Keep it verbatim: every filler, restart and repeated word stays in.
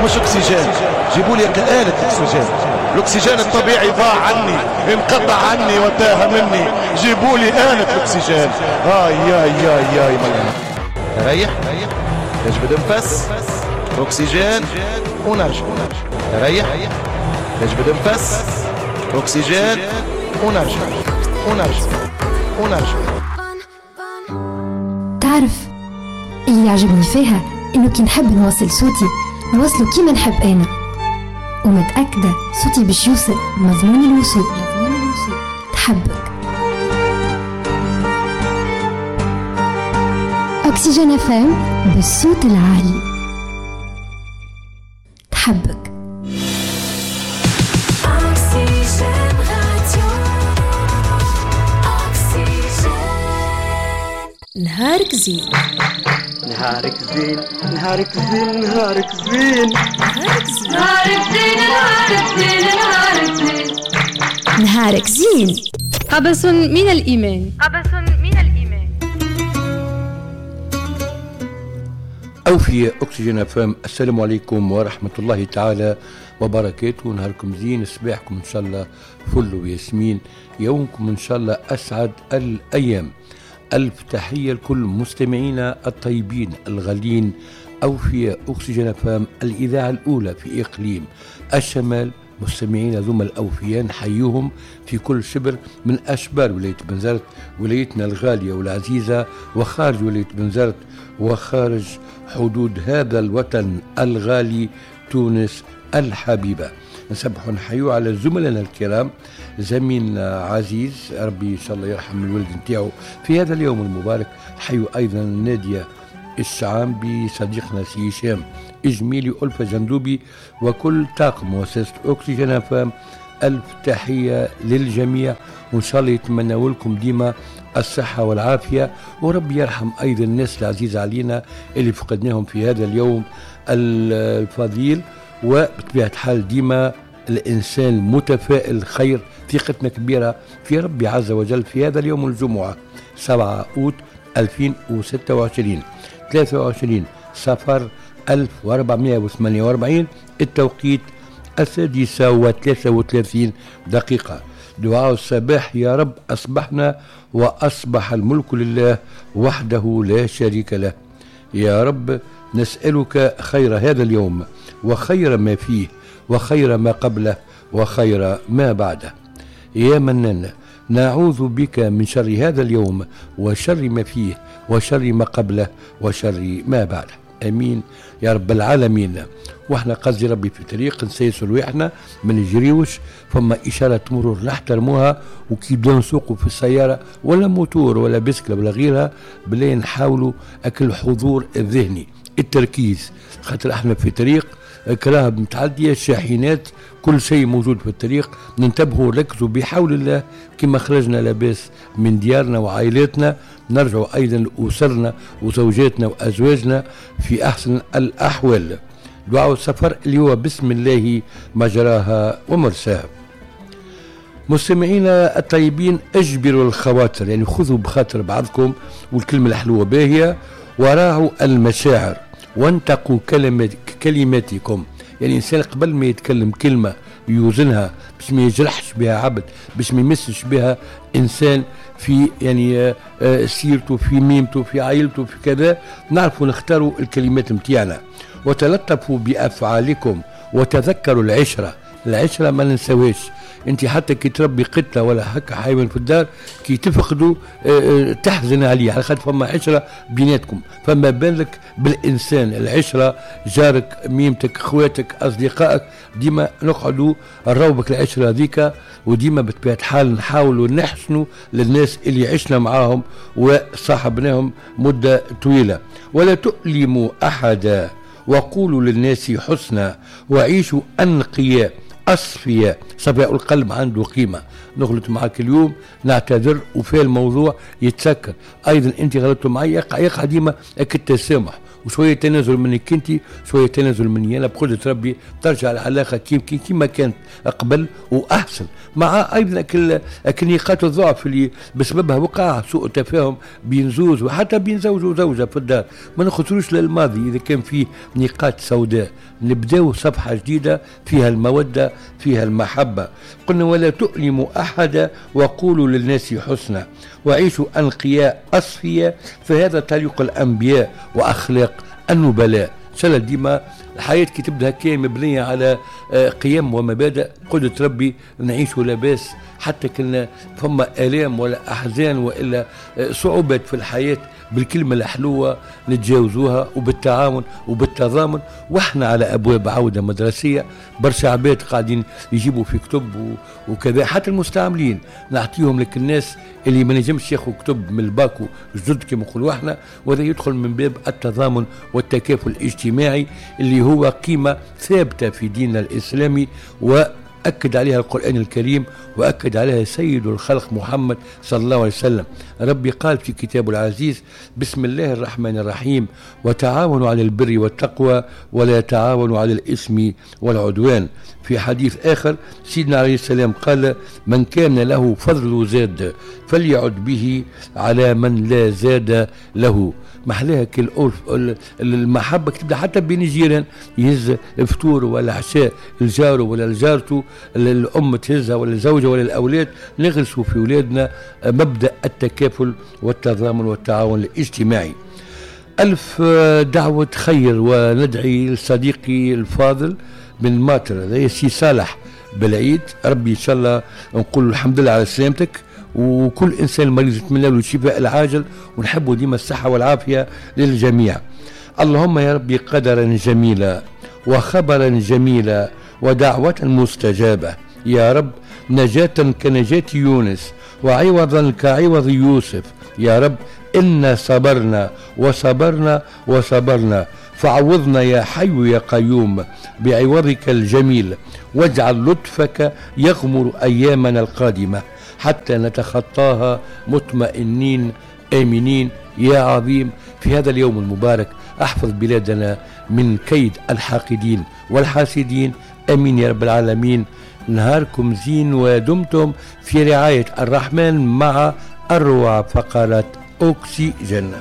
مش اكسجين، جيبوا لي آلة اكسجين. الاكسجين الطبيعي ضاع عني، انقطع عني وتاه مني، جيبوا لي آلة الاكسجين. آي يا يا يا ريح، نجبد نفس اكسجين ونرجع، ريح نجبد نفس اكسجين ونرجع ونرجع ونرجع. تعرف اللي يعجبني فيها انه كي نحب نوصل صوتي نوصله كيما نحب انا، ومتأكدة صوتي باش يوصل مضمون الوصول. تحبك أكسجين أف أم بالصوت العالي. تحبك نهارك زين، نهارك زين، نهارك زين، نهارك زين، نهارك زين، نهارك زين، نهارك زين، نهارك زين، نهارك زين. قبس من الإيمان، قبس من الإيمان. أوفياء أكسجين أف أم، السلام عليكم ورحمة الله تعالى وبركاته. نهاركم زين، صباحكم إن شاء الله فل وياسمين، يومكم إن شاء الله أسعد الأيام. ألف تحية لكل مستمعينا الطيبين الغالين. أوفياء أكسجين أف أم، الإذاعة الأولى في إقليم الشمال. مستمعينا ذم الأوفياء نحييهم في كل شبر من أشبار ولاية بنزرت، ولايتنا الغالية والعزيزة، وخارج ولاية بنزرت وخارج حدود هذا الوطن الغالي تونس الحبيبة. نسبح ونحيو على زملائنا الكرام، زميلنا عزيز ربي إن شاء الله يرحم الولد نتاعو في هذا اليوم المبارك. نحيو أيضا نادية الشعامبي، صديقنا سي هشام إجميلي، ألفة جندوبي، وكل طاقم مؤسسة أكسجين أف أم. ألف تحية للجميع، وإن شاء الله يتمنوا لكم ديما الصحة والعافية، وربي يرحم أيضا الناس العزيزة علينا اللي فقدناهم في هذا اليوم الفضيل. وبطبيعة الحال ديما الإنسان متفائل خير، ثقتنا كبيرة في ربي عز وجل. في هذا اليوم الجمعة سبعة أوت ألفين وستة وعشرين، ثلاثة وعشرين صفر ألف وأربعمائة وثمانية وأربعين، التوقيت السادسة وثلاثة وثلاثين دقيقة. دعاء الصباح: يا رب أصبحنا وأصبح الملك لله وحده لا شريك له. يا رب نسألك خير هذا اليوم وخير ما فيه وخير ما قبله وخير ما بعده. يا منان نعوذ بك من شر هذا اليوم وشر ما فيه وشر ما قبله وشر ما بعده. امين يا رب العالمين. واحنا قصدي ربي في طريق نسيسوا رواحنا ما نجريوش، فما اشارة مرور نحترموها، وكي بدنا نسوقوا في السيارة ولا موتور ولا بسكله ولا غيرها بلا نحاولوا اكل الحضور الذهني، التركيز، خاطر احنا في طريق كراهب متعدية، شاحنات، كل شيء موجود في الطريق. ننتبهوا ونركزوا بحول الله. كما خرجنا لاباس من ديارنا وعائلاتنا نرجع ايضا لاسرنا وزوجاتنا وازواجنا في احسن الاحوال. دعاء السفر اللي هو بسم الله مجراها ومرساها. مستمعينا الطيبين، اجبروا الخواطر، يعني خذوا بخاطر بعضكم، والكلمة الحلوة باهيه، وراعوا المشاعر، وانتقوا كلمات كلماتكم. يعني الانسان قبل ما يتكلم كلمة يوزنها باش ما يجرحش بها عبد، باش ما يمسش بها انسان في يعني سيرته، في ميمته، في عائلته، في كذا. نعرفوا نختاروا الكلمات متاعنا. وتلطفوا بافعالكم وتذكروا العشرة. العشرة ما ننساوهاش. انت حتى كي تربي قطة ولا هكا حيوان في الدار كي تفقدوا تحزن عليه، على خاطر فما عشرة بيناتكم. فما بالك بالانسان، العشرة جارك، ميمتك، خواتك، اصدقائك، ديما نقعدوا نروبك العشرة هذيك، وديما بطبيعة الحال نحاولوا نحسنوا للناس اللي عشنا معاهم وصاحبناهم مده طويلة. ولا تؤلموا احدا وقولوا للناس حسنا وعيشوا انقياء أصفياء. صفاء القلب عنده قيمة. نغلط معك اليوم نعتذر وفي الموضوع يتسكر. أيضا أنت غلطت معي، يقع, يقع ديما التسامح وشوية تنازل منك انت، شوية تنازل مني انا، بقدره ربي ترجع العلاقة كيما كانت قبل واحسن، مع ايضا كل نقاط الضعف اللي بسببها وقع سوء تفاهم بين زوج وحتى بين زوج وزوجه في الدار. ما نخسروش للماضي اذا كان فيه نقاط سوداء، نبداو صفحة جديدة فيها المودة فيها المحبة. قلنا ولا تؤلموا احدا وقولوا للناس حسنا وعيشوا انقياء اصفياء، فهذا طريق الانبياء واخلاق النبلاء. ان شاء الله ديما الحياة كي تبدا هكا مبنية على قيم ومبادئ قدرة ربي نعيشوا لاباس، حتى كنا فما آلام ولا أحزان وإلا صعوبات في الحياة، بالكلمة الحلوة نتجاوزوها وبالتعاون وبالتضامن. واحنا على أبواب عودة مدرسية، برشا عباد قاعدين يجيبوا في كتب وكذا، حتى المستعملين نعطيهم لك الناس اللي ما نجمش ياخذوا كتب من الباكو جدد كما نقولوا احنا، وهذا يدخل من باب التضامن والتكافل الاجتماعي اللي هو قيمة ثابتة في ديننا الإسلامي، وأكد عليها القرآن الكريم وأكد عليها سيد الخلق محمد صلى الله عليه وسلم. ربي قال في كتابه العزيز: بسم الله الرحمن الرحيم، وتعاونوا على البر والتقوى ولا تعاونوا على الإثم والعدوان. في حديث آخر سيدنا عليه السلام قال: من كان له فضل زاد فليعد به على من لا زاد له. محلاها كل المحبة تبدا حتى بين الجيران، يهز فطور ولا عشاء الجار ولا الجارته، الأم تهزها ولا الزوجة ولا الأولاد. نغرسوا في أولادنا مبدأ التكافل والتضامن والتعاون الاجتماعي. ألف دعوة خير، وندعي لصديقي الفاضل من ماطر سي صالح بالعيد، ربي إن شاء الله نقول الحمد لله على سلامتك، وكل إنسان مريض نتمنى له الشفاء العاجل، ونحبه ديما الصحة والعافية للجميع. اللهم يا ربي قدرا جميلا وخبرا جميلا ودعوة مستجابة يا رب، نجاة كنجاة يونس وعوضا كعوض يوسف يا رب، إنا صبرنا وصبرنا وصبرنا، فعوضنا يا حي يا قيوم بعوضك الجميل، واجعل لطفك يغمر أيامنا القادمة حتى نتخطاها مطمئنين آمنين يا عظيم. في هذا اليوم المبارك أحفظ بلادنا من كيد الحاقدين والحاسدين، آمين يا رب العالمين. نهاركم زين ودمتم في رعاية الرحمن مع أروع فقرات أكسجين.